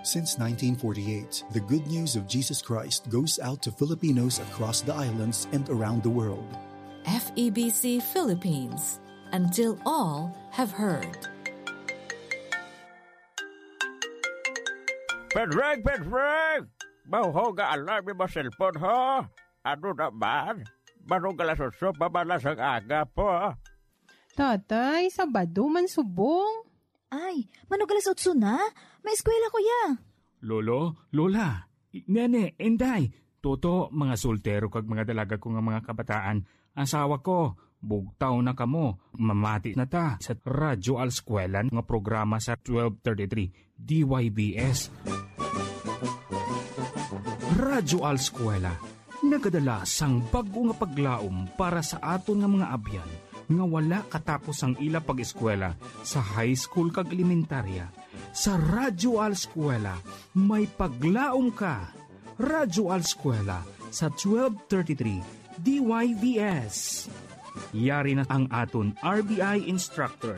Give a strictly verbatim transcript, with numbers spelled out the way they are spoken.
Since nineteen forty-eight, the good news of Jesus Christ goes out to Filipinos across the islands and around the world. F E B C Philippines, until all have heard. Pedreng, Pedreng! Mahuhog nga alarm mo cellphone, ha? Ano naman? Manong alas otso pa man lang sang aga po. Tatay, Sabado man subong. Ay, manong alas otso na? May eskwela ko ya. Lolo, Lola, Nene, Inday, Toto, mga soltero kag mga dalaga ko nga mga kabataan, asawa ko, bugtaw na kamo, mamati na ta sa Radyo Alskwela nga programa sa twelve thirty-three D Y B S. Radyo Alskwela, nagadala sang bag-o nga paglaom para sa aton nga mga abyan nga wala katapos ang ila pag-eskwela sa high school kag elementarya. Sa Radyo Alskwela, may paglaom ka. Radyo Alskwela sa twelve thirty-three D Y V S. Yari na ang aton R B I instructor.